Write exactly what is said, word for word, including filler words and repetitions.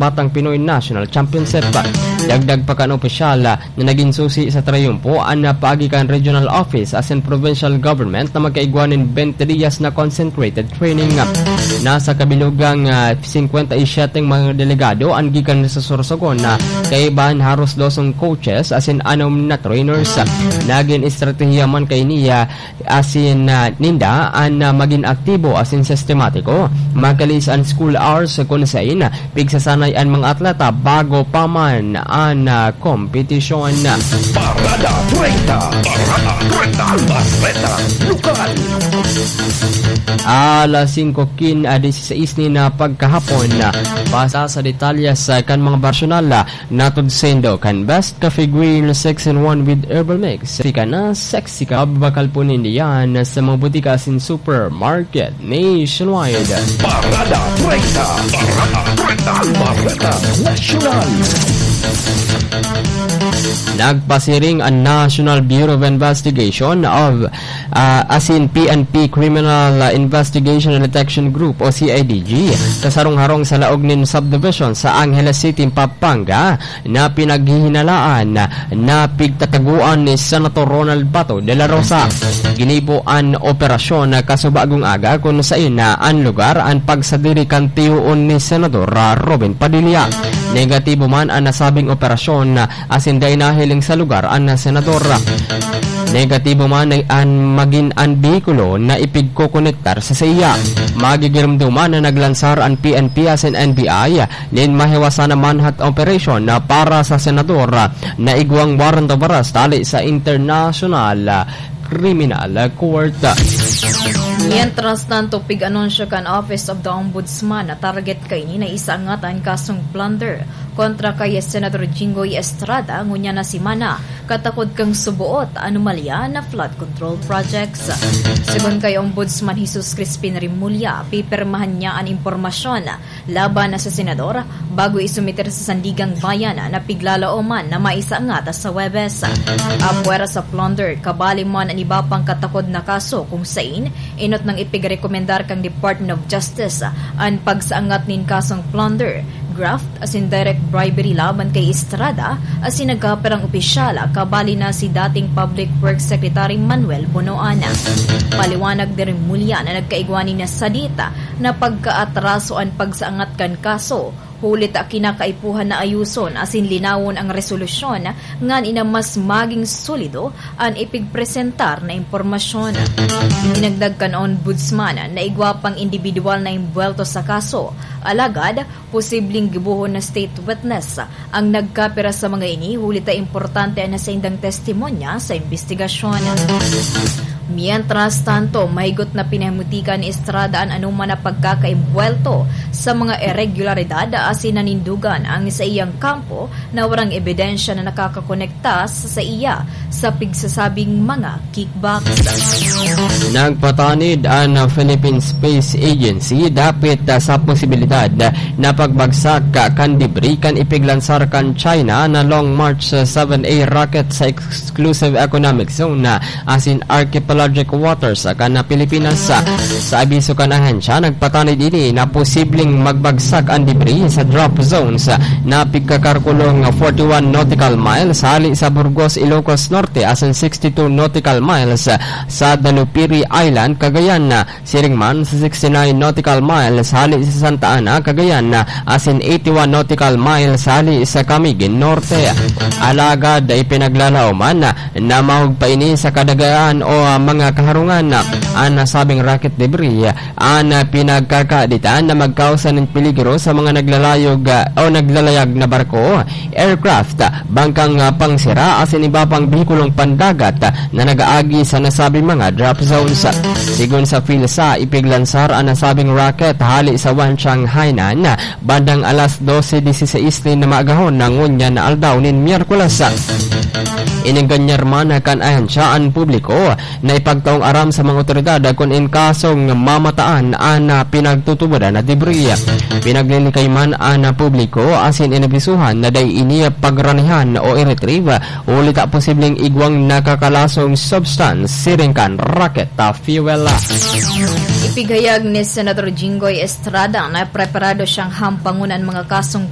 Batang Pinoy National Championship. Dagdag pa kan opisyal na nagin susi sa triyumpo an paagi kan regional office asin provincial government na magkaigwa nin bente diyas na concentrated training. Nasa kabilugang, ah, singkwenta y siyete mga delegado an gikan sa Sorsogon na kaiba an haros dosong coaches asin anom na trainers. Nagin estratehiya man kaini, ah, asin, ah, ninda an, ah, magin aktibo asin sistematiko. Makalis an school hours kun sain pigsasanay an mga atleta bago pa man an, ah, kompetisyon. Parada treinta. Parada treinta. Bareta Lokal. Alas singko kin, ah, diseseis nin, ah, pagkahapon, ah, basa sa detalye sa kan mga personal, ah, Natod saindo kan Best Coffee Green six in one with Herbal Mix. Sexy ka na, sexy ka. Mabakal po ninda yan sa mga butika asin supermarket nationwide. Parada treinta. Parada treinta. Bareta Nasyonal. Nagpasiring ang National Bureau of Investigation of ah, asin P N P Criminal, ah, Investigation and Detection Group o C I D G sa sarong-harong sa laog nin subdivision sa Angeles City, Pampanga, na pinaghihinalaan na pigtataguan ni Senator Ronald Bato de la Rosa. Ginibo an operasyon na kasubagong aga kun sain na an lugar an pagsadiri kan tiyoon ni Senador, ah, Robin Padilla. Negatibo man an nasabing operasyon, ah, asin dai nahiling sa lugar an senador. Negatibo man an magin an behikulo na ipigkokonektar sa saiya. Magigiromdoman na naglansar an P N P asin N B I nin mahiwasan na manhunt operation na para sa senador na igwang warrant of arrest hali sa International Criminal Court. Mientras tanto, pig-anunsyo kan Office of the Ombudsman na target kaini na isaangat an kasong plunder kontra kay Senador Jinggoy Estrada ngunyan na semana, katakod kan suboot anomalya na flood control projects. Segun kay Ombudsman Jesus Crispin Remulla, pipirmahan niya an impormasyon laban sa senador bago isumiter sa Sandiganbayan na piglalaoman na maisaangat sa Huwebes. Apwera sa plunder, kabali man an iba pang katakod na kaso kung sain enot nang ipigrekomendar kan Department of Justice an pagsaangat nin kasong plunder, graft asin direct bribery laban kay Estrada asin nagkapirang opisyal, kabali na si dating Public Works Secretary Manuel Bonoan. Paliwanag ni Remulla na nagkaigwa nin sadit na pagkaatraso an pagsaangat kan kaso, huli ta kinakaipuhan na ayuson asin linawon ang resolusyon ngani na mas maging solido an ipigpresentar na impormasyon. Idinagdag kan Ombudsman na igwa pang indibidwal na imbuwelto sa kaso, alagad posibleng gibohon na state witness ang nagkapira sa mga ini, huli ta importante an saindang testimonya sa imbestigasyon. Mientras tanto, mahigot na pinahimutikan ni Estrada an anoman na pagkakaimbuwelto sa mga iregularidad asin nanindogan ang saiyang kampo na warang ebidensya na nakakakonekta sa saiya sa pigsasabing mga kickbacks. Nagpatanid an Philippine Space Agency dapit, ah, sa posibilidad na pagbagsak, ah, kan debris kan ipiglansar kan China na Long March seven A rocket sa exclusive economic zone, ah, asin archipelagic waters, ah, kan Pilipinas. Sa abiso kan ahensya, nagpatanid ini na posibleng magbagsak an debris sa drop zones na pigkakarkulong forty-one nautical miles hali sa Burgos, Ilocos Norte, asin sixty-two nautical miles sa Dalupiri Island, Cagayan. Siring man sa sixty-nine nautical miles hali sa Santa Ana, Cagayan, asin eighty-one nautical miles hali sa Camiguin Norte. Alagad ipinaglalaoman na mahog pa ini sa kadagaan o, ah, mga kaharungan. An nasabing rocket debris an, ah, pinagkakaaditan na magkausa nin peligro sa mga naglalayog, ah, o naglalayag na barko, aircraft, bangkang, ah, pangsira asin iba pang behikulong pandagat, ah, na nag-aagi sa nasabing mga drop zones. Sigon sa PhilSA, ipiglansar an nasabing rocket hali sa Wanchang, Hainan, bandang alas dose dieciséis nin maagahon na ngunyan na aldaw nin Miyerkules. Inenganyar man kan ahensya an publiko na ipagtaong aram sa mga otoridad kun in kasong mamataan an, ah, pinagtutubodan na debris. Pinaglilikay man an, ah, publiko asin inabisuhan na dai ini pagranihan o i-retrieve, huli ta posibleng igwang nakakalasong substance siring kan rocket, ah, fuel. Ipighayag ni Senator Jinggoy Estrada na preparado siyang hampangon an mga kasong